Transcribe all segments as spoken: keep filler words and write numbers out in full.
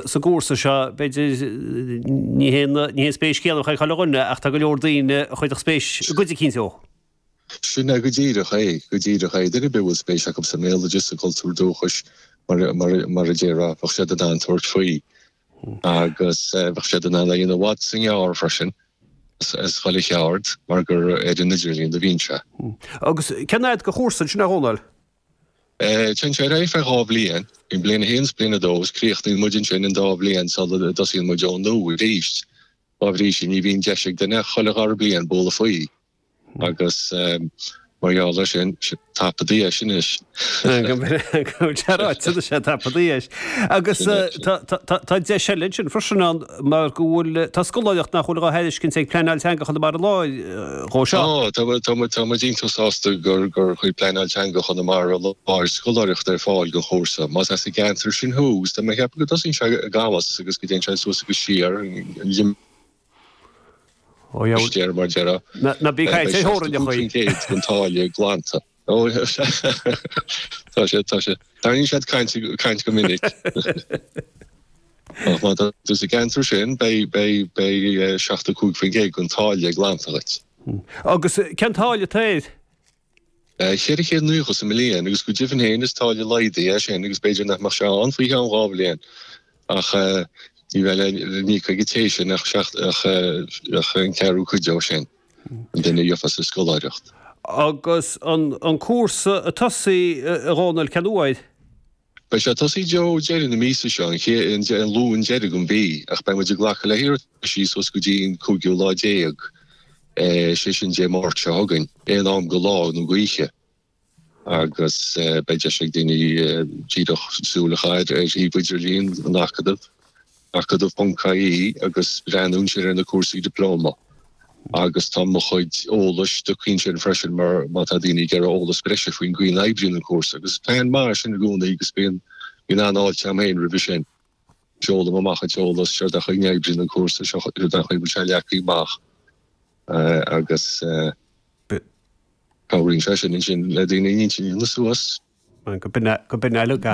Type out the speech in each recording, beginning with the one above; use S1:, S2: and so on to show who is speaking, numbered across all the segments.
S1: sa gcúrsa seo, b'fhéidir ní hé ní hé an spéis chéanna ag chuile dhuine ach tá go leor daoine a chuirfeadh spéis i gcuid eicínt dó.
S2: Sin é go díreach é, go díreach é. Duine ar bith a bhfuil spéis acu sa mbéaloideas, sa gcultúr dúchais, mar mar mar a déarfá, bheadh siad in ann tabhairt faoi. Agus bheadh siad in ann é a dhéanamh i bhfad is i ngearr freisin, as chuile cheard, mar gur ar an idirlíon a bhíonn sé.
S1: Agus cén fhad de chúrsa ansin, a Dhónaill?
S2: Téann sé ar aghaidh feadh dhá bhliain, bíonn bliain a haon is bliain a dó agus críochnaíonn muid ansin an dá bhliain sula dtosaíonn muid ó nua arís. Dá bhrí sin ní bhíonn deis ag duine ach chuile dhara bliain bualadh faoi. Agus mar gheall air sin, tapa do dheis anois.
S1: Go ráite anois é tapa do dheis. Agus tá deis eile ansin freisin ann mar go bhfuil, tá scoláireacht nach bhfuil dhá thairiscint ag Pleanáil Teanga Chonamara Láir dhó
S2: seo. Tá, tá tá muid iontach sásta gur gur chuir Pleanáil Teanga Chonamara Láir scoláireacht ar fáil don chúrsa. Más as an gceantar sin thú, agus tá mé ag ceapadh go dtosaíonn sé i gCamus agus go dtéann sé suas agus siar an limistéar mar déarfá.
S1: Ná bí ag caint ar theorainneacha.
S2: Beidh seachtó cúig faoin gcéad den táille glanta. Ó, tá sé, tá sé. Tarraingíonn siad caint, caint go minic. Ach má tá tú sa gceantar sin, beidh, beidh, beidh seachtó cúig faoin gcéad den táille glanta dhuit.
S1: Agus cén táille atá air?
S2: Ceithre chéad nócha sa mbliain agus go deimhin féin is táille laghdaithe é sin agus b'fhéidir nach mbeadh sé ann faoi cheann dhá bhliain ach ní bheidh le n-íoc ag an té sin ach ach an ceathrú cuid dó sin, an duine a gheofas an scoláireacht.
S1: Agus an cúrsa ag tosaí, a Dhónaill, cén uair?
S2: Beidh sé ag tosaí i dtreo deireadh na míosa seo, an chéad, an Luan deiridh den mhí, ach beidh muid ag glacadh le hiarrataisí suas go dtí an cúigiú lá déag, sé sin Dé Máirt seo chugainn, aon am go lá nó go oíche, agus beidh deis ag daoine díreach súil a chaitheamh ar shuíomh idirlín an Acadaimh. Acadamh ponc ie agus breathnú ansin ar na cúrsaí dioplóma agus tá mo chuid eolais tugtha ansin freisin mar má tá daoine ag iarraidh eolas breise faoin gcaoi a n-oibríonn an cúrsa agus is plean maith é sin i gcónaí agus bíonn bíonn an-fháilte agam féin roimhe sin. Seolaim amach an t-eolas, seo an chaoi a n-oibríonn an cúrsa, seo an chaoi a bhfuil sé leagtha amach agus cabhraíonn sé sin ansin le daoine a n-intinn a dhéanamh suas.
S1: Go b'in é, go b'in é uilig é.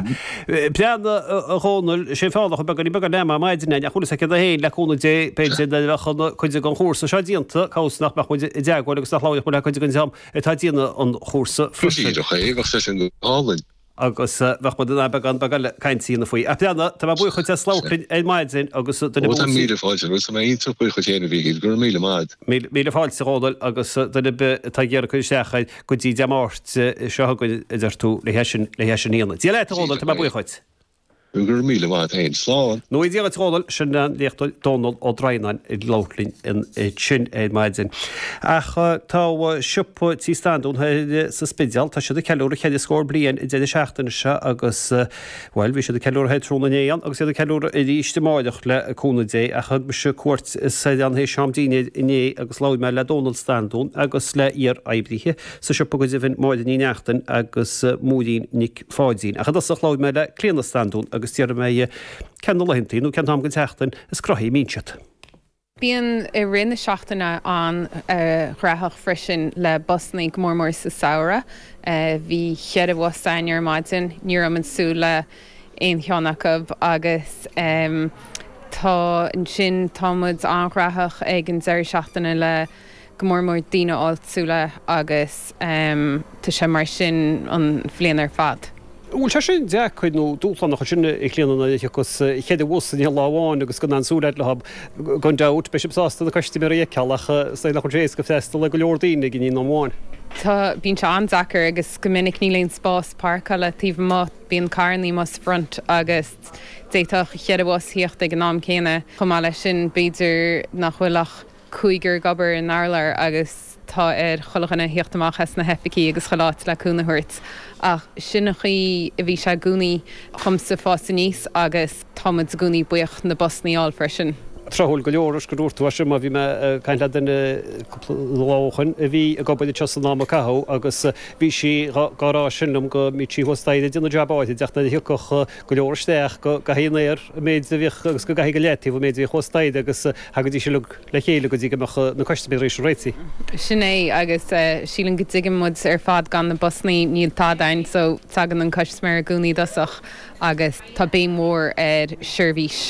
S1: Breathnaigh, a Dhónaill, sé an fáth nach bhfuil beagán beagán ama ar maidin againn, ach bhfuil fhios agat féin, le cúnamh Dé, b'fhéidir nuair a bheadh an cuid den chúrsa seo déanta, cá bhfios nach mbeadh muid i dteagmháil agus nach labhródh muid le cuid den dream atá ag déanamh an chúrsa freisin.
S2: Go díreach é, bheadh sé sin go hálainn.
S1: agus bheadh muid in ann beagán beag eile cainte a dhéanamh faoi. Ach breathnaigh, tá mé buíoch dhuit as labhairt linn ar maidin agus duine
S2: Ó, tá míle fáilte romhat, tá mé iontach buíoch dhuit féin a Mhíchíl, go raibh míle maith.
S1: Míle fáilte a Dhónaill agus duine ar bith atá ag iarraidh cur isteach air go dtí Dé Máirt seo chugainn a deir tú le hé sin le hé sin a dhéanamh. Dia leat a Dhónaill, tá mé buíoch dhuit.
S2: Go raibh míle maith agat féin. Slán.
S1: Nó Dia dhuit a Dhónaill, sin an léachtóir Dónal Ó Droighneáin ag labhairt linn ansin ar maidin. Ach tá siopa Tí Standún thoir sa Spidéal, tá siad ag ceiliúradh ceithre scór bliain an deireadh seachtaine seo agus, bhuel, bhí siad ag ceiliúradh thoir tráthnóna inné ann agus iad ag ceiliúradh arís amáireach le cúnamh Dé. Ach thug mise cuairt soir ann théis am dinnéir inné agus labhair mé le Dónal Standún agus le iar-oibrithe sa siopa go deimhin, Máire Ní Neachtain agus Máirín Nic Pháidín. Ach i dtosach labhair mé le Clíona Standún agus d'fhiafraigh mé dhi cé na laethantaí nó cén t-am den tseachtain is gnoithí a mbíonn siad.
S3: Bíonn i rith na seachtaine an-ghnóthach freisin le busannaí, go mór mór sa samhradh. Bhí cheithre bhus againn ar maidin, ní raibh muid ag súil le aon cheann acu agus tá ansin tá muid an-ghnóthach ag an deireadh seachtaine le go mór mór daoine áitiúla agus tá sé mar sin an bhliain ar fad.
S1: An bhfuil sé sin deacair nó dúshlánach ansin a Chlíona nuair a thiocfas ceithre bhus in aon lá amháin agus gan aon súil agat leo? Gan dabht beidh sibh sásta na custaiméirí a fheiceáil ach is dóigh nach bhfuil sé éasca freastal ar go leor daoine ag an aon am amháin.
S3: Tá, bíonn sé an-deacair agus go minic níl aon spás páirceála taobh amuigh, bíonn carrannaí amuigh sa bhfront agus d'fhéadfadh cheithre bhus thíocht ag an am céanna. Chomh maith leis sin b'fhéidir nach bhfuil ach cúigear ag obair in urlár agus tá ar chuile dhuine thíocht amach as na hoifigí agus chuile áit le cúnamh a thabhairt. Ach sin an chaoi a bhí sé i gcónaí dhomsa fás aníos agus tá muid i gcónaí buíoch na busannaí a fháil freisin.
S1: Tráthúil go leor gur dúirt tú é sin mar bhí mé ag caint le duine cúpla lá ó shoin a bhí ag obair anseo san am a caitheadh agus bhí sí dhá rá sin liom go mbíodh sí thuas staighre ag déanamh jab áirid ach nuair a thiocfadh go leor isteach go gcaithfí in aer an méid a bhíodh agus go gcaithfí go leataobh an méid a bhíodh thuas staighre agus thagaidís uilig le chéile go dtí go mbeadh na custaiméirí réitithe.
S3: Sin é agus sílim go dtuigeann muid ar fad gan na busannaí níl tada ann so tagann an custaiméir i gcónaí i dtosach agus tá béim mhór ar seirbhís.